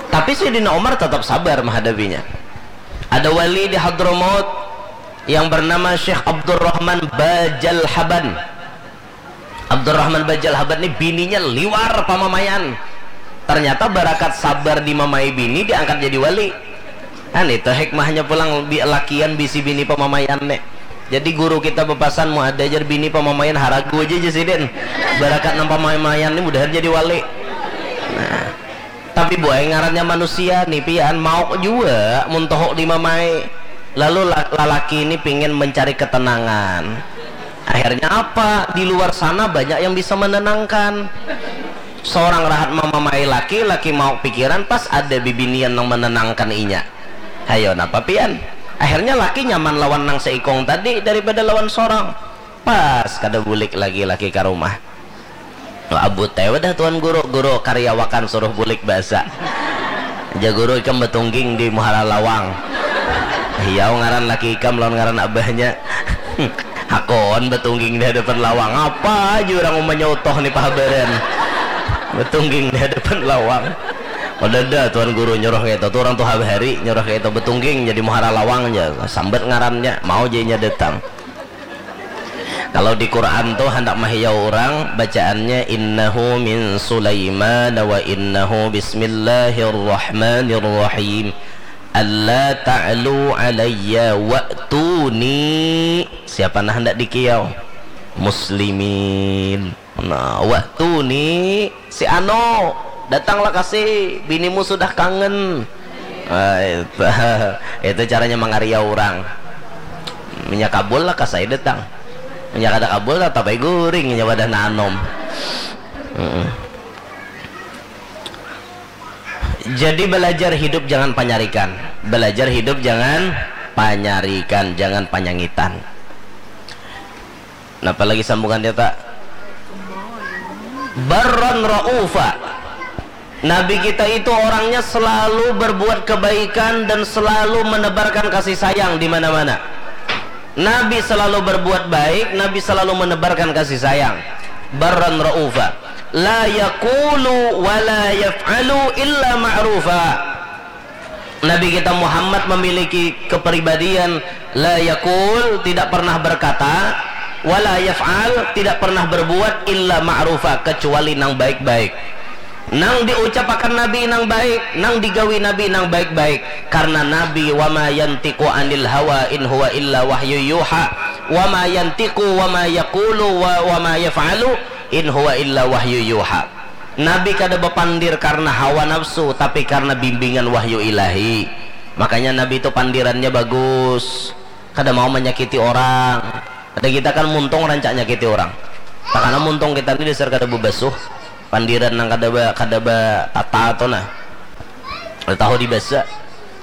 Tapi Sayyidina Umar tetap sabar menghadapinya. Ada wali di Hadramaut yang bernama Syekh Abdurrahman Bajalhaban. Abdurrahman Bajalhaban ni bininya liwar pamamaian. Ternyata barakat sabar dimamai bini diangkat jadi wali. Kan itu hikmahnya pulang bi-, lakian bisi bini pamamaian nih. Jadi guru kita bepasan, mau ada ajar bini pamamaian haragu aja, aja sidin. Barakat nang pamamaian ni mudahan jadi wali. Nah, tapi buai ngarannya manusia nih pian, mauk jua mun tohok dimamai. Lalu la-, lalaki ini pingin mencari ketenangan. Akhirnya apa? Di luar sana banyak yang bisa menenangkan. Seorang rahat mamamai laki, laki mauk pikiran, pas ada bibinian yang menenangkan inya. Hayo napa pian? Akhirnya laki nyaman lawan nang seikung tadi daripada lawan sorang. Pas kada bulik lagi laki ka rumah. Abut ai wadah tuan guru, guru kariawakan suruh bulik basa. Ja guru ikam batungging di muhara lawang. Hiau ngaran laki ikam lawan ngaran abahnya. Hakon batungging di hadapan lawang. Apa aja orang umanya utoh ni pahabaran. Batungging di hadapan lawang. Kada ada tuan guru nyuruh kayak itu. Tu orang tuha bahari nyuruh kayak itu. Batungging jadi muhara lawang aja. Sambat ngarannya. Mau jadinya datang. Kalau di Quran tuh hendak mahiyau orang, bacaannya innahu min Sulaiman wa innahu bismillahirrahmanirrahim. Alla ta'lu alayya wa'tuni. Siapa nah hendak dikiyau? Muslimin. Nah, wa'tuni. Si Ano, datanglah kasih, binimu sudah kangen. Ah, itu, itu caranya mangariau orang. Minyak kabul lah kasai datang. Minyak kada kabul lah tapai guring nya wadah nanom. Mm-mm. Jadi belajar hidup jangan panyarikan. Belajar hidup jangan panyarikan, jangan panyangitan. Napa lagi sambungan dia tak? Barran ra'ufa. Nabi kita itu orangnya selalu berbuat kebaikan dan selalu menebarkan kasih sayang di mana-mana. Nabi selalu berbuat baik, Nabi selalu menebarkan kasih sayang. Barran ra'ufa. La yaqulu wa la yaf'alu illa ma'rufa. Nabi kita Muhammad memiliki kepribadian la yaqul, tidak pernah berkata, wa la yaf'al, tidak pernah berbuat, illa ma'rufa, kecuali nang baik-baik. Nang diucapakan Nabi nang baik, nang digawi Nabi nang baik-baik. Karena Nabi wa ma yantiqu anil hawa in huwa illa wahyu yuha. Wa ma yantiqu wa ma yaqulu wa, wa ma yaf'alu in huwa illa wahyu yuha. Nabi kada bapandir karena hawa nafsu, tapi karena bimbingan wahyu ilahi. Makanya Nabi itu pandirannya bagus, kada mau menyakiti orang. Ada kita kan muntung rancak nyakiti orang. Takana muntung kita ni dasar kada bebasuh, pandiran nang kada ba, kada ba tata tu nah. Tahu dibasa.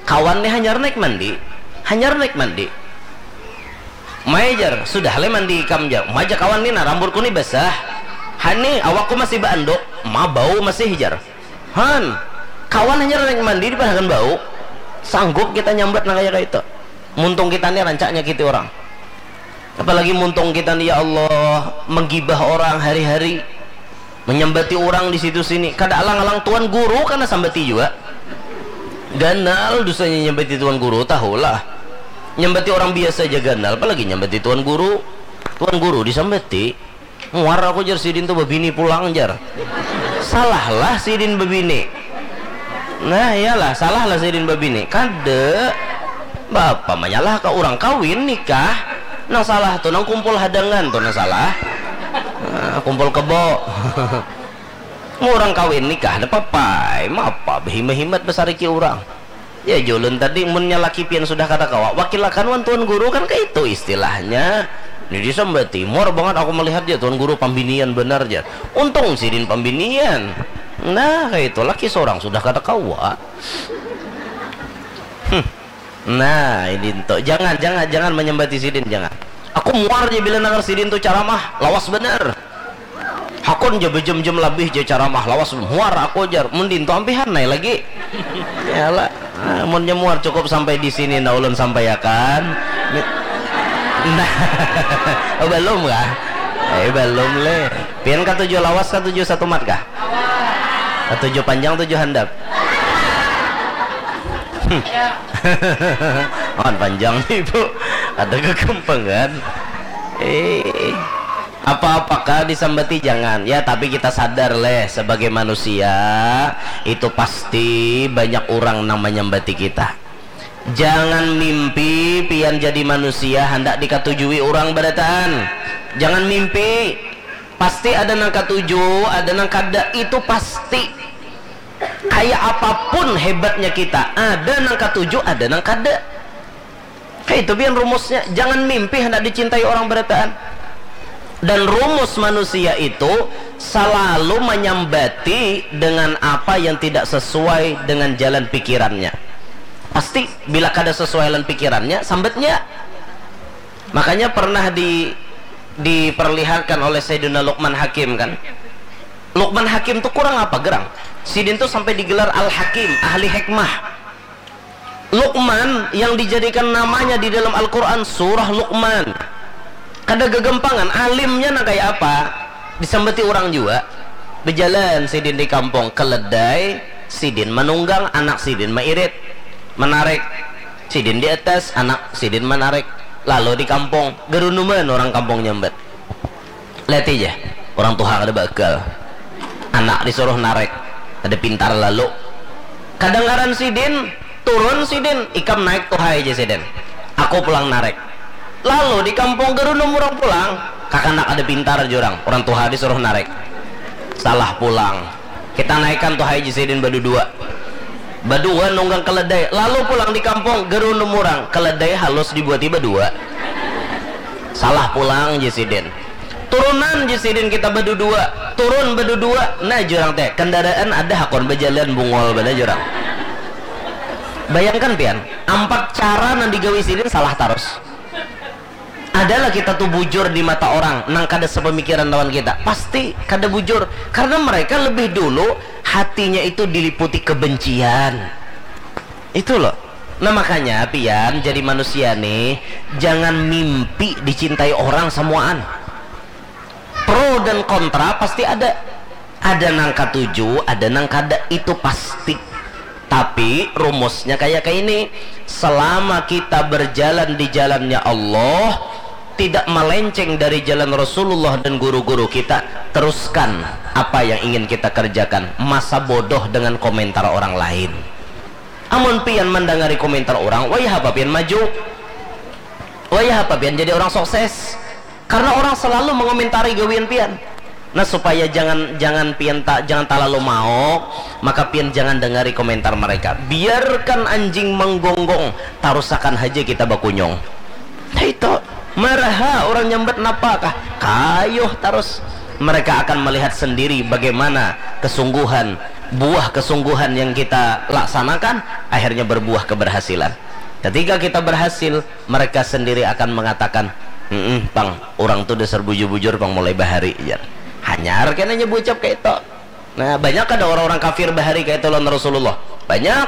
Kawan ni hanyar naik mandi, hanyar naik mandi. Mai jar, sudah le mandi ikam jar. Uma ja kawan ni nah, rambutku ni basah. Hani, awakku masih baanduk, ma bau masih jar. Han, kawan hanyar naik mandi dipadahakan bau. Sanggup kita nyambat nang kaya kaitu. Muntung kita ni rancak nyakiti orang. Apalagi muntung kita ni ya Allah menggibah orang hari-hari. Menyambati orang di situ sini. Kada alang-alang tuan guru kana sambati jua. Ganal dosanya nyambati tuan guru, tahulah. Nyambati orang biasa ja ganal, apalagi nyambati tuan guru. Tuan guru disambati. Muar aku jar sidin tu babini pulang jar. Salahlah sidin babini. Nah, iyalah, salahlah sidin babini. Kada. Bapa manyalah ka orang kawin nikah. Nang salah tu nang kumpul hadangan tu nang salah. Nah, kumpul kebo. Mun urang kawin nikah, napa pai, mapa bahimat-himat basariki urang. Ya, jar ulun tadi, munnya laki pian sudah kada kawa, wakilakan wan tuan guru, kan kaitu istilahnya. Ni disambati, muar bangat aku malihat ja tuan guru pambinian banar ja. Untung sidin pambinian. Nah, kaitu, laki sorang sudah kada kawa. Hmm. Nah, ini tu. Jangan, jangan, jangan manyambati sidin, jangan. Aku muar ja bila nangar sidin tu caramah, lawas banar. Hakun ja bajam-jam labih ja caramah, lawas, muar aku jar. Mun dintu ampihan ai lagi. Yalah. Ah, munnya muar cukup sampai di sini, nah, ulun sampaiakan. Mi-, nah, oh, balum kah? Eh, balum leh. Pian katuju lawas, katuju satumat kah? Katuju panjang, tuju handap? Hmm. Awan panjang nih, Bu. Ada kegempangan. Eh. Apa-apakah disambati? Jangan. Ya, tapi kita sadar leh, sebagai manusia, itu pasti banyak urang nang manyambati kita. Jangan mimpi pian jadi manusia handak dikatujui urang barataan. Jangan mimpi. Pasti ada nang katuju, ada nang kada. Itu pasti. Kayak apapun hebatnya kita, ada nang katuju, ada nang kada. Kayak itu pian rumusnya. Jangan mimpi handak dicintai orang barataan. Dan rumus manusia itu selalu menyambati dengan apa yang tidak sesuai dengan jalan pikirannya. Pasti bila kada sesuai dengan pikirannya, sambatnya. Makanya pernah di diperlihatkan oleh Sayyidina Luqman Hakim, kan. Luqman Hakim tuh kurang apa gerang? Sidin tuh sampai digelar Al-Hakim, ahli hikmah. Luqman yang dijadikan namanya di dalam Al-Quran, surah Luqman. Kada gegempangan, alimnya nang kayak apa? Disambati orang juga. Bejalan sidin di kampung, keledai sidin manunggang, anak sidin mairit, menarik. Sidin di atas, anak sidin menarik. Lalu di kampung, gerunuman orang kampung nyambat. Lihat aja, orang tuha kada bakal. Anak disuruh narik, kada pintar lalu. Kadangaran sidin, turun sidin, ikam naik tuha aja sidin. Aku pulang narik. Lalu di kampung gerunum orang pulang, kakanak kada pintar jurang, orang tuha disuruh narik. Salah pulang. Kita naikan tuha aja sidin badudua. Badua nunggang keledai, lalu pulang di kampung gerunum orang, keledai halus dibuati badua. Salah pulang ji sidin. Turunan ji sidin kita badudua, turun badudua. Nah, jurang teh, kendaraan ada hakon bajalan bungol banar jurang. Bayangkan pian, ampat cara nang digawi sidin salah tarus. Adalah kita tuh bujur di mata orang nang kada sepemikiran lawan kita, pasti kada bujur, karena mereka lebih dulu hatinya itu diliputi kebencian. Itu loh. Nah, makanya pian jadi manusia nih, jangan mimpi dicintai orang samuaan. Pro dan kontra pasti ada. Ada nang katuju, ada nang kada, itu pasti. Tapi rumusnya kayak kayak ini. Selama kita berjalan di jalannya Allah, tidak melenceng dari jalan Rasulullah dan guru-guru kita, teruskan apa yang ingin kita kerjakan. Masa bodoh dengan komentar orang lain. Amun pian mandangari komentar orang, wayah apa pian maju? Wayah apa pian jadi orang sukses? Karena orang selalu mengomentari gawian pian. Nah, supaya jangan jangan pian ta, jangan terlalu maok, maka pian jangan dengari komentar mereka. Biarkan anjing menggonggong, tarusakan haja kita bakunyung. Nah, itu maraha orang nyambat napa kah? Kayuh terus. Mereka akan melihat sendiri bagaimana kesungguhan, buah kesungguhan yang kita laksanakan akhirnya berbuah keberhasilan. Ketika kita berhasil, mereka sendiri akan mengatakan, "Mm-mm, pang, orang tu dasar bujur-bujur pang mulai bahari," jar. Hanyar kena nyebucap kayak itu. Nah, banyak ada orang-orang kafir bahari kayak itu lawan Rasulullah. Banyak.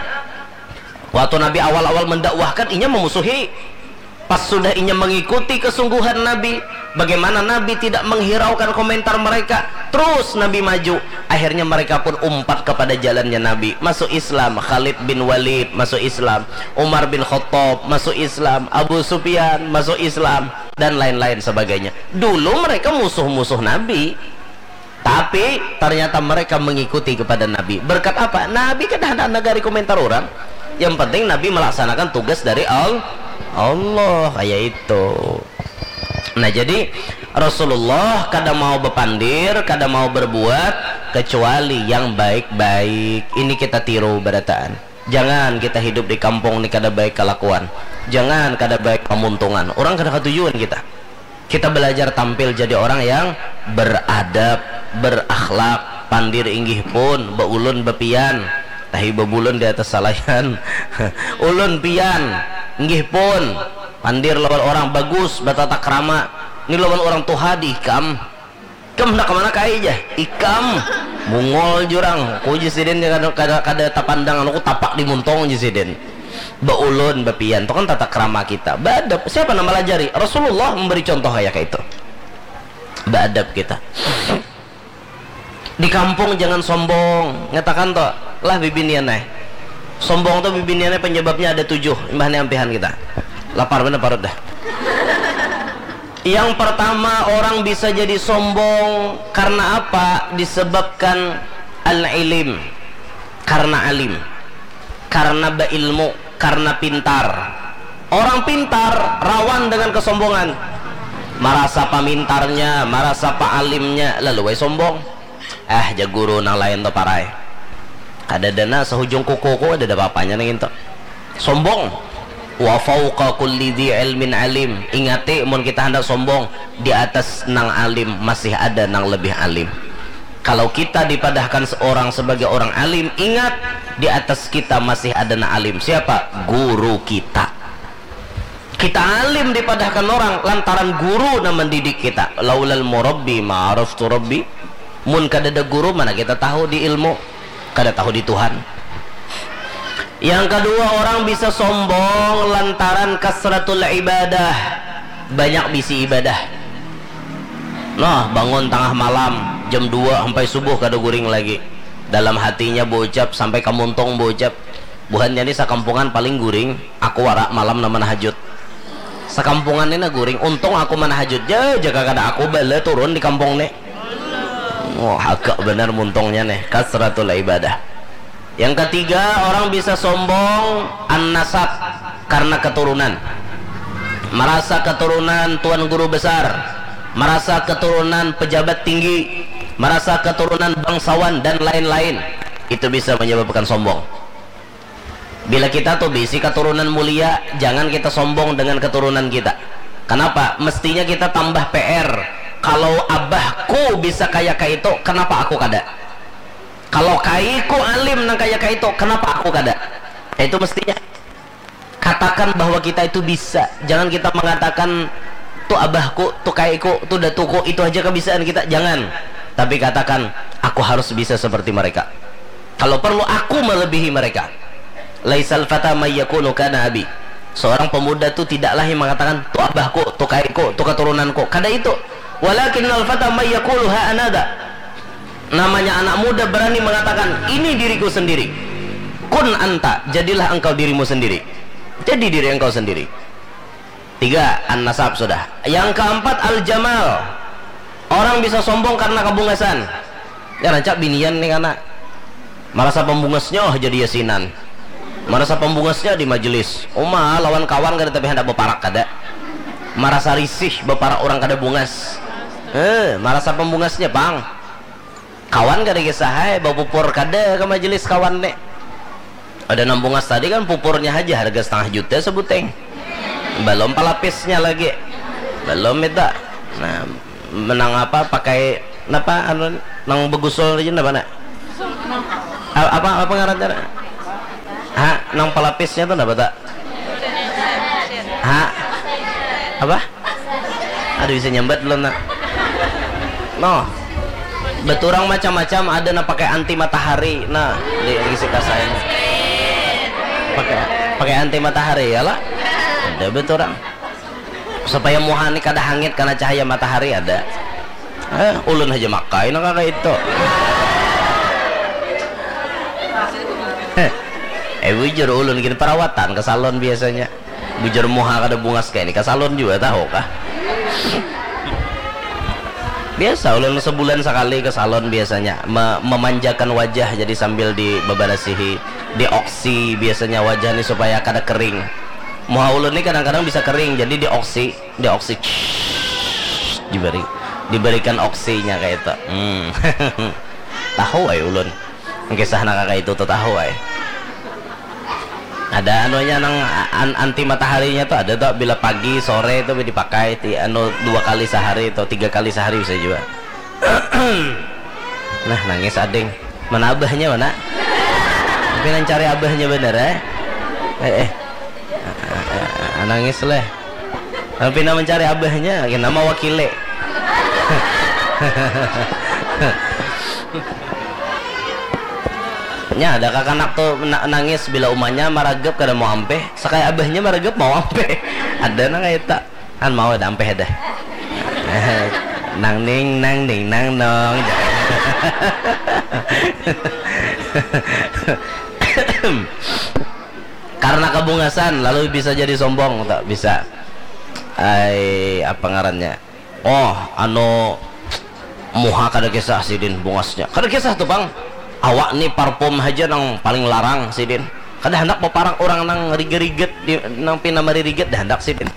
Waktu Nabi awal-awal mendakwahkan, inya memusuhi. Pas sudah inya mengikuti kesungguhan Nabi, bagaimana Nabi tidak menghiraukan komentar mereka, terus Nabi maju. Akhirnya mereka pun umpat kepada jalannya Nabi. Masuk Islam, Khalid bin Walid masuk Islam, Umar bin Khattab masuk Islam, Abu Sufyan masuk Islam, dan lain-lain sebagainya. Dulu mereka musuh-musuh Nabi. Tapi ternyata mereka mengikuti kepada Nabi. Berkat apa? Nabi kada handak nagari komentar orang. Yang penting Nabi melaksanakan tugas dari Al-, Allah. Kayak itu. Nah, jadi Rasulullah kada mau bepandir, kada mau berbuat kecuali yang baik-baik. Ini kita tiru barataan. Jangan kita hidup di kampung ni kada baik kelakuan. Jangan kada baik pamuntungan. Orang kada katujuan kita. Kita belajar tampil jadi orang yang beradab, berakhlak, pandir inggih pun, beulun bepian, tahi bebulun di atas salayan. Ulun pian, inggih pun, pandir lawan orang bagus, bertata krama. Ini lawan orang tuha di ikam. Ikam hendak kemana kai jah? Ikam. Mungol jurang, ku jar sidin kada, kada, kada tapandang anu, ku tapak di muntung jar sidin. Baulun, bapian, tu kan tata krama kita. Baadab, siapa nang malajari? Rasulullah memberi contoh kaya kaitu. Baadab kita. Di kampung jangan sombong, ngatakan tu lah bibinian ai. Sombong tu bibinian ai penyebabnya ada tujuh, imbah ni ampihan kita. Lapar banar parut dah. Yang pertama, orang bisa jadi sombong karena apa? Disebabkan al-ilim, karena alim, karena beilmu, karena pintar. Orang pintar rawan dengan kesombongan, marasa pamintarnya, marasa paalimnya, lalu wae sombong. Ah, jar guru nang lain tu parai. Kada dana sahujung kukuku, ada apa-apanya nang itu. Sombong. Wa fauqa kulli dzi ilmin alim. Ingati, mun kita handak sombong, di atas nang alim masih ada nang lebih alim. Kalau kita dipadahkan seorang sebagai orang alim, ingat, di atas kita masih ada nang alim. Siapa? Guru kita. Kita alim dipadahkan orang lantaran guru nang mendidik kita. Laulal murabbi ma araftu rabbi. Mun kadada guru, mana kita tahu di ilmu? Kada tahu di Tuhan. Yang kedua, orang bisa sombong lantaran kasratul ibadah, banyak bisi ibadah. Nah, bangun tangah malam, jam dua sampai subuh kada guring lagi. Dalam hatinya baucap, sampai kamuntung baucap, buhannya ni sakampungan paling guring, aku wara malam nang manahajud. Sakampungan ni nah guring, untung aku manahajud ja, jaka kada aku bala turun di kampung ni. Wah, agak benar muntungnya nih, kasratul ibadah. Yang ketiga, orang bisa sombong an-nasab karena keturunan. Merasa keturunan tuan guru besar, merasa keturunan pejabat tinggi, merasa keturunan bangsawan dan lain-lain. Itu bisa menyebabkan sombong. Bila kita tuh bisi keturunan mulia, jangan kita sombong dengan keturunan kita. Kenapa? Mestinya kita tambah P R. Kalau abahku bisa kaya kaitu, kenapa aku kada? Kalau kaiku alim nang kaya kaitu, kenapa aku kada? Itu mestinya. Katakan bahwa kita itu bisa. Jangan kita mengatakan, tu abahku, tu kaiku, tu datuku, itu aja kebisaan kita. Jangan. Tapi katakan, aku harus bisa seperti mereka. Kalau perlu, aku melebihi mereka. Laisal fata mayyakunu kana abi. Seorang pemuda tu tidaklah yang mengatakan, tu abahku, tu kaiku, tu keturunanku. Kada itu. Walakinnal fata mayyakulu ha anada. Namanya anak muda berani mengatakan, ini diriku sendiri. Kun anta, jadilah engkau dirimu sendiri. Jadi diri engkau sendiri. Tiga, an-nasab sudah. Yang keempat, al-jamal. Orang bisa sombong karena kebungasan. Ya, rancak binian nih, kana. Marasa pembungasnya jadi yasinan. Marasa pembungasnya di majelis. Uma lawan kawan kada, tapi hendak beparak kada. Marasa risih beparak orang kada bungas. Eh, marasa pembungasnya, pang. Kawan kada kisah ai, bapupur kada ke majelis kawan nih. Ada nang bungas tadi kan pupurnya aja harga setengah juta sebuteng. Belum pelapisnya lagi. Belum itu. Nah, menang apa pakai napa anu nang begusul aja napa nak? A- Apa apa ngarannya? Ha, nang pelapisnya tuh napa tak? Ha? Apa? Aduh, bisa nyambat belum nak? Noh. Beturang macam-macam, ada nang pakai anti matahari. Nah, di, di si kasai. Pakai pakai anti matahari ya lah. Ada beturang. Supaya muha ni kada hangit karena cahaya matahari ada. Eh, ulun aja makai nang kaya itu. Eh, eh, bujur ulun gini perawatan ke salon biasanya. Bujur muha kada bungas kayak ini ke salon juga tahu kah? Biasa ulun sebulan sekali ke salon biasanya me- memanjakan wajah jadi sambil dibebersihi, dioksi biasanya wajah ni supaya kada kering. Muha ulun ni kadang-kadang bisa kering jadi dioksi, dioksi diberi diberikan oksinya kayak itu. Hmm. Tahu ay ulun. Kisah nak kakak itu tuh tahu ay. Ada anunya nang an- anti mataharinya tuh ada tuh bila pagi sore tuh dipakai ti anu dua kali sehari atau tiga kali sehari bisa juga. Nah, nangis ading. Mana abahnya mana? Tapi nang cari abahnya bener eh. Eh eh. Ah, nangis leh. Tapi nang mencari abahnya, nama wakile. Nya ada kakanak tu na- nangis bila umanya maragap kada mau ampeh, sakaya abahnya maragap mau ampeh. Ada nang kaya itu. Kan mau ada ampeh ada. Nang ning nang ning nang nong. Karena kebungasan lalu bisa jadi sombong, tak bisa. Ai, apa ngarannya? Oh, anu, muha kada kisah sidin bungasnya. Kada kisah tu pang. Awak ni parfum haja nang paling larang sidin. Kada handak baparak orang nang riga-riget di, nang pina maririget dah handak sidin.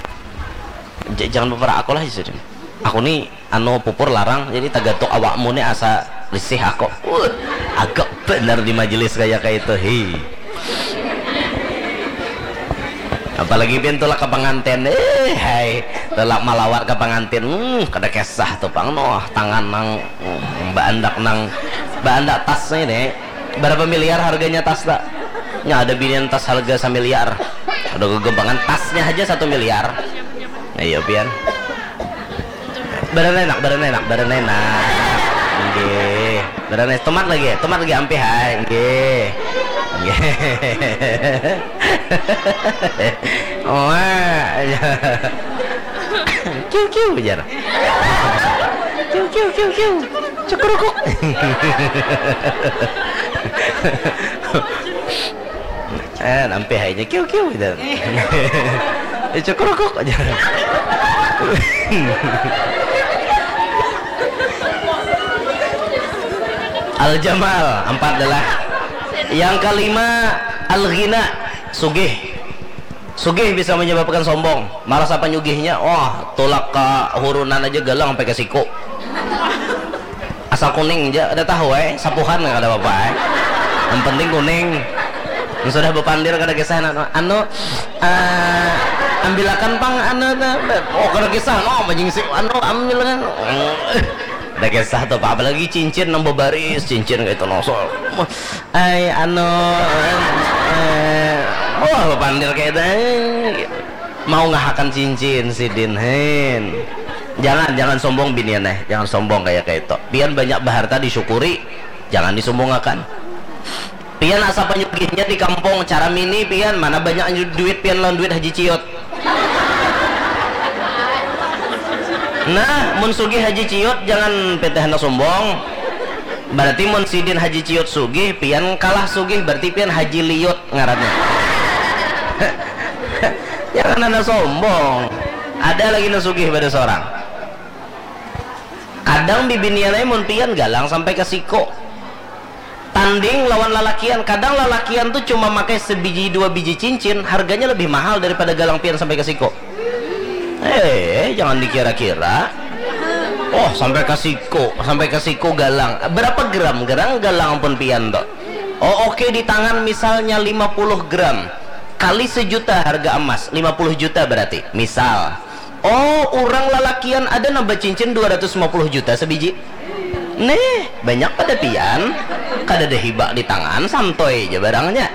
J- jangan baparak aku lah sidin. Aku ni anu pupur larang, jadi tagatuk awakmu ni asa risih aku. Uh, agak benar di majelis kaya kaya itu. Hi. Apalagi pian tulak ke pengantin, eh hai, tulak malawat ke pengantin, hmm, kada kisah tu pang noh, tangan nang hmm, baandak nang baandak tas ini, berapa miliar harganya tas tak? Nya ada binian tas harga samiliar, ada gegempangan tasnya aja satu miliar. Ayo pian. Baranenak, baranenak, baranenak. Nggih. Baranenak, tomat lagi, tomat lagi ampih hai. Nggih. Nggih. Wah. Kiu kiu jar. Kiu kiu kiu kiu. Cukurukuk. Eh, nampi hainya kiu kiu gitu. Eh, cukurukuk aja. Al Jamal, empat adalah. Yang kelima, Al Ghina, sugih. Sugih bisa menyebabkan sombong. Marasa panyugihnya, wah, tulak ke hurunan aja galang sampai ke siku. Asal kuning aja, ada tahu eh, sapuhan nggak ada apa-apa eh. Yang penting kuning. Yang sudah berpandir kada kisah anu, anu uh, ambilakan pang anu, oh kada kisah no, majingsi anu ambilakan. Ada kisah tuh, apalagi cincin nang babaris, cincin kayak itu no. So, ay anu eh, oh pandir kayak itu. Mau ngahakan cincin sidin hen. Jangan, jangan sombong binian eh, jangan sombong kayak kayak itu. Pian banyak baharta disyukuri, jangan disombongakan. Pian asa panyugihnya di kampung, cara mini pian, mana banyak duit pian lawan duit Haji Ciut. Nah, mun sugih Haji Ciut jangan peteh handak sombong. Berarti mun sidin Haji Ciut sugih, pian kalah sugih, berarti pian Haji Liut ngarannya. Jangan ada sombong. Ada lagi nang sugih pada seorang. Kadang bibinian ai mun pian galang sampai ke siko. Tanding lawan lalakian, kadang lalakian tu cuma makai sebiji dua biji cincin, harganya lebih mahal daripada galang pian sampai ke siko. Eh, jangan dikira-kira. Oh, sampai ke siko, sampai ke siko galang. Berapa gram gerang galang pun pian tu? Oh, oke, di tangan misalnya lima puluh gram. Kali sejuta harga emas, lima puluh juta berarti. Misal. Oh, orang lalakian ada nang bacincin dua ratus lima puluh juta sebiji. Nih, banyak pada pian. Kada ada hibak di tangan, santoy aja barangnya.